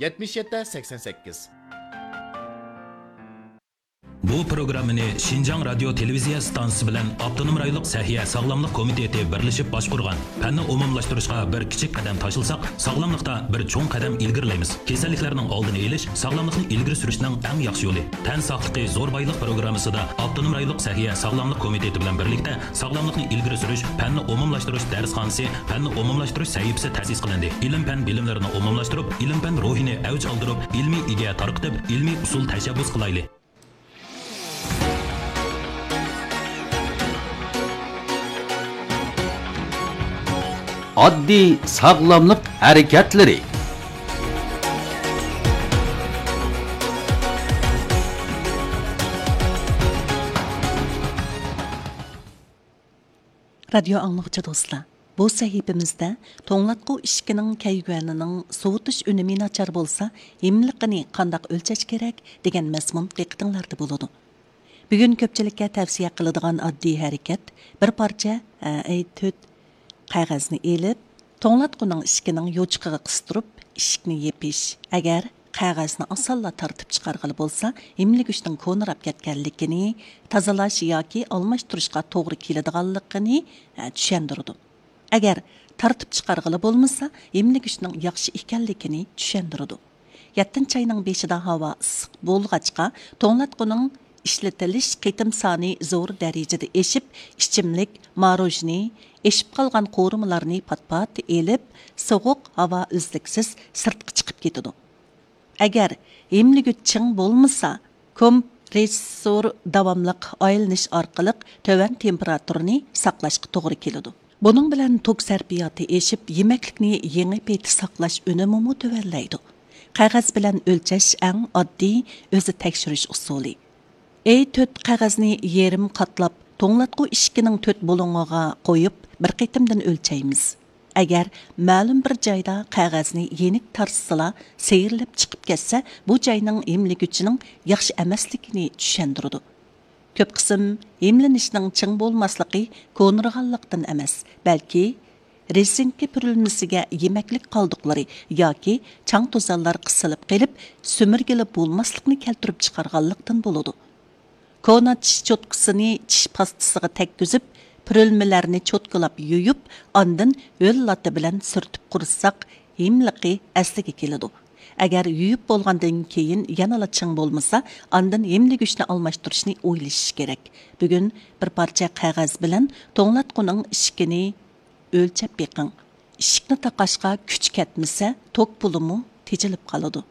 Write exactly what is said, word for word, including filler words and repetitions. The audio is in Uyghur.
يەتمىش يەتتە سەكسەن سەككىز. بۇ پروگراممىنى شىنجاڭ رادىيو تېلېۋىزىيە ئىستانسىسى بىلەن ئاپتونوم رايونلۇق سەھىيە ساغلاملىق كومىتېتى بىرلىشىپ باشقۇرغان. پەننى ئومۇملاشتۇرۇشقا بىر كىچىك قەدەم تاشلىساق، ساغلاملىقتا بىر چوڭ قەدەم ئىلگىرىلەيمىز. كېسەللىكلەرنىڭ ئالدىنى ئېلىش، ساغلاملىقنى ئىلگىرى سۈرۈشنىڭ ئەڭ ياخشى يولى. تەن ساقلىقى زور بايلىق پروگراممىسىدا ئاپتونوم رايونلۇق سەھىيە ساغلاملىق كومىتېتى بىلەن بىرلىكتە ساغلاملىقنى ئىلگىرى سۈرۈش، پەننى ئومۇملاشتۇرۇش دەرسخانىسى، پەننى ئومۇملاشتۇرۇش سەھىپىسى تەسىس قىلىندى. ئىلىم-پەن بىلىملىرىنى ئومۇملاشتۇرۇپ، ئىلىم-پەن روھىنى ئەۋج ئالدۇرۇپ، ئىلمىي ئىدىيە تارقىتىپ، ئىلمىي ئۇسۇل تەشەببۇس قىلايلى. ئاددىي ساغلاملىق ھەرىكەتلىرى. رادىيو ئاڭلىغۇچى دوستلار، بۇ سەھىپىمىزدە توڭلاتقۇ ئىشىكىنىڭ كەيگۈەنىنىڭ سوۋۇتۇش ئۈنۈمى ناچار بولسا، ھىملىقىنى قانداق ئۆلچەش كېرەك دېگەن مەزمۇن دىققىتىڭلاردا بولىدۇ. بۈگۈن كۆپچىلىككە تەۋسىيە قىلىدىغان ئاددىي ھەرىكەت، بىر پارچە ئەي تۆت قەغەزنى ئېلىپ، توڭلاتقۇنىڭ ئىشىكىنىڭ يوچۇقىغا قىستۇرۇپ، ئىشىكنى يېپىش. ئەگەر قەغەزنى ئاسانلا تارتىپ چىقارغىلى بولسا، ھىملىگۈچنىڭ كونىراپ كەتكەنلىكىنى، تازىلاش ياكى ئالماشتۇرۇشقا توغرا كېلىدىغانلىقىنى، ئە، چۈشەندۈرىدۇ. ئەگەر تارتىپ چىقارغىلى بولمىسا، ھىملىگۈچنىڭ ياخشى ئىكەنلىكىنى چۈشەندۈرىدۇ. يەتتىنچى ئاينىڭ بېشىدا ھاۋا ئىسسىق بولغاچقا، توڭلاتقۇنىڭ ئىشلىتىلىش قېتىم سانى زور دەرىجىدە ئېشىپ، ئىچىملىك، ماروژنى، ئېشىپ قالغان قورۇمىلارنى پات-پات ئېلىپ، سوغۇق ھاۋا ئۈزلۈكسىز سىرتقا چىقىپ كېتىدۇ. ئەگەر ھىملىگۈچ چىڭ بولمىسا، كومپرېسسور داۋاملىق ئايلىنىش ئارقىلىق تۆۋەن تېمپېراتۇرىنى ساقلاشقا توغرا كېلىدۇ. بۇنىڭ بىلەن توك سەرپىياتى ئېشىپ، يېمەكلىكنى يېڭى پېتى ساقلاش ئۈنۈمىمۇ تۆۋەنلەيدۇ. قەغەز بىلەن ئۆلچەش ئەڭ ئاددىي ئۆزى تەكشۈرۈش ئۇسۇلى. ئەي تۆت قەغەزنى يېرىم قاتلاپ، توڭلاتقۇ ئىشىكىنىڭ تۆت بۇلۇڭىغا قويۇپ، بىر قېتىمدىن ئۆلچەيمىز. ئەگەر مەلۇم بىر جايدا قەغەزنى يېنىك تارتسىلا، سىيرىلىپ چىقىپ كەتسە، بۇ جاينىڭ ھىملىگۈچىنىڭ ياخشى ئەمەسلىكىنى چۈشەندۈرىدۇ. كۆپ قىسىم ھىملىنىشنىڭ چىڭ بولماسلىقى كونىرىغانلىقتىن ئەمەس، بەلكى رېزىنكا پۈرۈلمىسىگە يېمەكلىك قالدۇقلىرى ياكى چاڭ توزانلار قىسىلىپ قېلىپ، سۈمۈرگىلى بولماسلىقنى كەلتۈرۈپ چىقارغانلىقتىن بولىدۇ. كونا چىش چوتكىسىنى چىش پاستىسىغا تەگكۈزۈپ، پۈرۈلمىلەرنى چوتكىلاپ يۇيۇپ، ئاندىن ھۆل لاتا بىلەن سۈرتۈپ قۇرۇتساق، ھىملىقى ئەسلىگە كېلىدۇ. ئەگەر يۇيۇپ بولغاندىن كېيىن يەنىلا چىڭ بولمىسا، ئاندىن ھىملىگۈچنى ئالماشتۇرۇشنى ئويلىشىش كېرەك. بۈگۈن بىر پارچە قەغەز بىلەن توڭلاتقۇنىڭ ئىشىكىنى ئۆلچەپ بېقىڭ. ئىشىكنى تاقاشقا كۈچ كەتمىسە، توك پۇلىمۇ تېجىلىپ قالىدۇ.